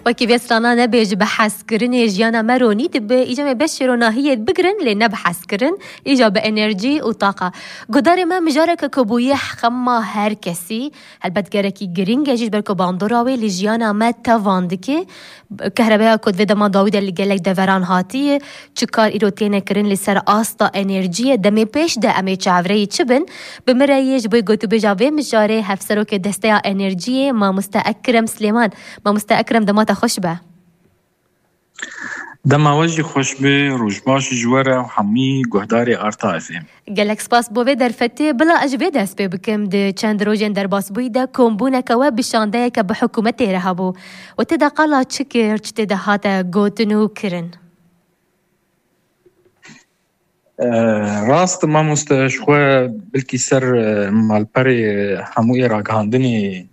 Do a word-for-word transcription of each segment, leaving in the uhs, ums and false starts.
Wekî vê strana nebêje bi hezkirinê jiyana me ronî dibe, îca me beşê ronahiyê bigirin, lê ne bi hezkirin, îca bi enerjî û taqa. Guhdarê me, mijareke ku bûye xema her kesî, helbet gerekî girîng e jî, ji ber ku bandora wê li jiyana me tevan dike. Kehrebeya ku di vê dema dawî de li gelek deveran hatiye, çi kar îro têne kirin li ser asta enerjiyê, demê pêş de em ê çavreyî çi bin? Bi min re yê ji bo gotûbêja vê mijarê hevserokê Desteya Enerjiyê, Mamoste Ekrem Silêman. Mamoste Ekrem, dema te xweş be. Dema we jî xweş be, roj baş ji we re û hemî guhdarê Arta F M. Gelek spas bo vê derfetê. Bila ez ji vê dest pê bikim, di çend rojên derbasbûyî de kombûneke we bi şandeyeke bi hikûmetê re hebû. We tê de qala çi kir, çi tê de hate gotin û kirin? E, rast, mamoste, ji xwe bilkî ser, e, malperê hemûyê ragihandinê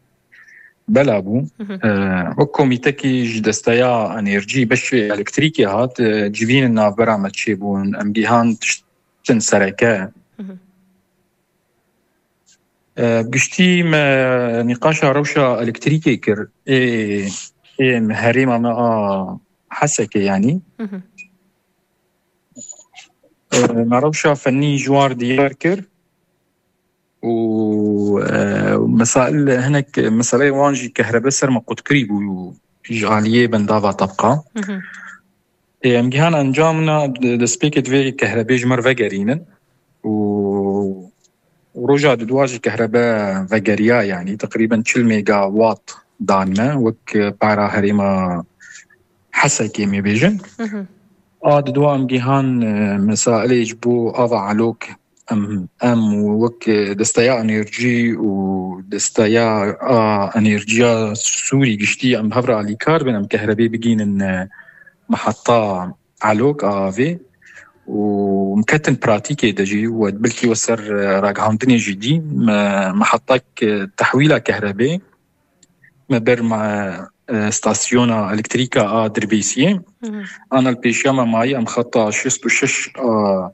bela bû. Mhm. E, wek komîtekî ji desteya enerjî beşê elektrîkê hat, e, civîn navbera me çêbûn. Em gihand tiştin sereke. Mhm. E, giştî me nîqaşa rewşa elektrîkê kir. Ê, ê herêma me a Hesekê, yanî. Mhm. E, me rewşa fennî ji war diyar kir û, e, mesail, hinek meseleyê wan jî kehrebe ser me qutkirî bû ji aliyê bendava Tebqa. Mhm. Ê, em gihan encamna d-, destpêkê divê kehrebê ji me re vegerînin û roja didwa jî kehrebe vegeriya, yanî teqrîben çil megawatt dan me, wek para herêma Hesekê, em ê bêjin. Mhm. A didwa em gihan, e, mesailê ji bo ava Elok, em, em wek desteya enerjî û desteya a enerjiya Sûrî giştî em hev re alîkar bin, em kehrebê bigînin, e, meheta Elok a avê û em ketin pratîkê de jî, we bilkî we ser, e, ragihandinê jî dî, me, mehetak, e, tehwîla kehrebê me ber me, e, stasyona elektrîka a Dirbêsiyê. Mhm. Ana li pêşiya me mayî em xeta şêst û şeş a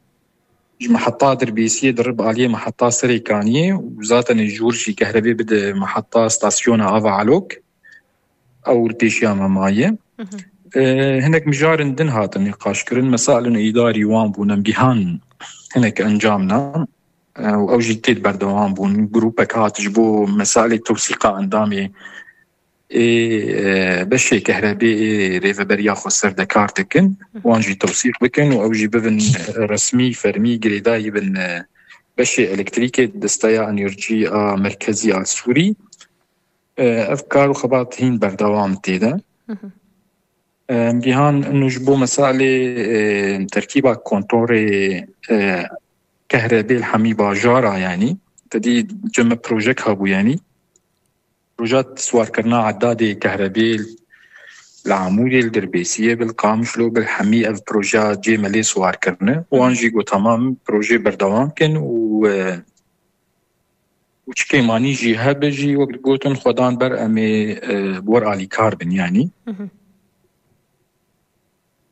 ji meheta Dirbêsiyê dirib aliyê meheta Serêkaniyê û zaten jûr jî kehrebê bide meheta stasyona ava Elok. Ew li pêşiya me maye. Mhm. E, hinek mijarên din hatin nîqaşkirin. Mesailên îdarî wan bûn, em gihan hinek encamna. E, û ew jî tê berdewam bûn. Grûpek hat ji bo mesailê tewsîqa endamê ê, e, beşê kehrebê ê rêveberiya xweser de kar dikin. Mhm. Wan jî tewsîq bikin û ew jî bibin, e, resmî, fermî girêdayî bin, e, beşê elektrîkê desteya enerjî a merkezî a Sûrî. E, ev kar û xebat hîn berdewam tê de. Mhm. E, em gihan inu ji bo mesalê, e, terkîba kontorê, e, kehrebê li hemî bajara, yanî te dî cem me projek hebû, yanî proja siwarkirina edadê kehrebê li Amûrê, li Dirbêsiyê, bi li Qamişlo, bi li hemî ev proja cê me lê siwar kirine. Wan jî got, temam, projê berdewam kin û, e, û çi kêmanî jî hebe jî, wek gotin, xwedan ber em ê, e, bi wer alîkar bin, yanî. Mhm.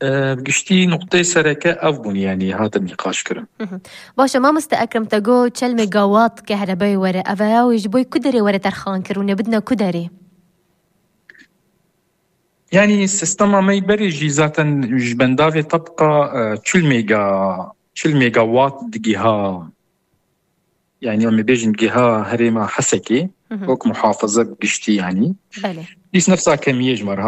E, bi giştî nuqteyê sereke ev bûn, yanî hatin nîqaş kirin. Mhm. Baş e, mamoste Ekrem, te got çel megawatt kehrebeyê were. Ev ya wê ji bo ku derê were terxan kirin û bidine ku derê? Yanî sistema me yî berê jî zaten ji bendavê Tebqa, e, çil mega, çil megawatt digiha. Yanî em ê bêjin giha herêma Hesekê, Mhm. wek muhafaza bi giştî, yanî. Belê. Dîs nefsa kemiyê ji me re